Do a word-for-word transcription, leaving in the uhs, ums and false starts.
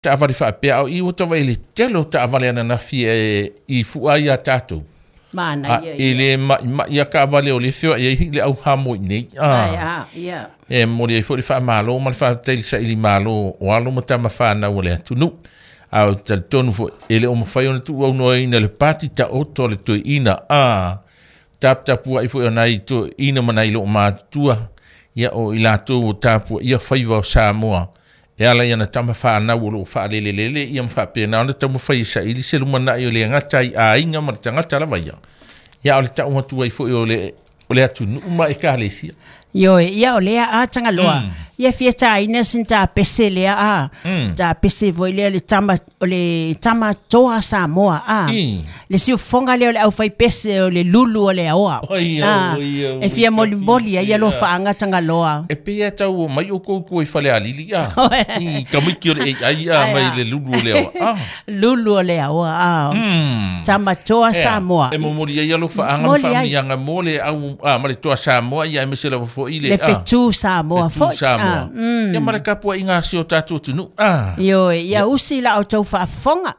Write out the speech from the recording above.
Taavale faapea ao i ua tava i le tele o taavale ananafi e i fua ia tatou. Mana ia. E le ma'i ma'i a taavale o le feoa'i ai le au Hamoa i nei. Ai a, ia. E momoli ai foi le faamalo ma le faafetai i le sailimalo o alo ma tama fanau o le atunuu. A o talitonu foi, e le o mafai ona tuuaunoaina le pati taoto a le toeaina a taputapua'i foi o nai toeaina ma nai loomatutua, ia o i latou o tapuaia faiva o Samoa e ala i ana tama fanau o loo faalelelele ia ma faapena ona taumafai e saili se lumanai o le agata i aiga ma le tagata lava ia. Ia o le tau atu ai foi o le o le atunuu ma ekalesia. Ioe, ia o lea a Tagaloa. Ia fia tāina sin tā pese lea a. Tā pese foi lea le tama, o le tama toa Samoa a. Le siufoga lea o le aufai pese o le lulu o le aoa. Oi, A, oi, oi, e fia molimoli ai ia ia. Alofaaga Tagaloa. E pei e tau mai o koukou i fale alili a. I tamiki o le A I a Ai, mai a. le lulu o le aoa. Ah. Lulu o le aoa a. Mm. Tama toa Ea, Samoa. E momoli ai alofaaga ma Momoli ai. faamanuiaga mo le au a ma le toa Samoa ia aemaise lava foi le Le a. fetu Samoa Fetu foi. Samoa. Ah, mm. Ia ma le tapuaiga a si o tatou atunuu. Ah. Ioe, ia usi la o tau faafofoga.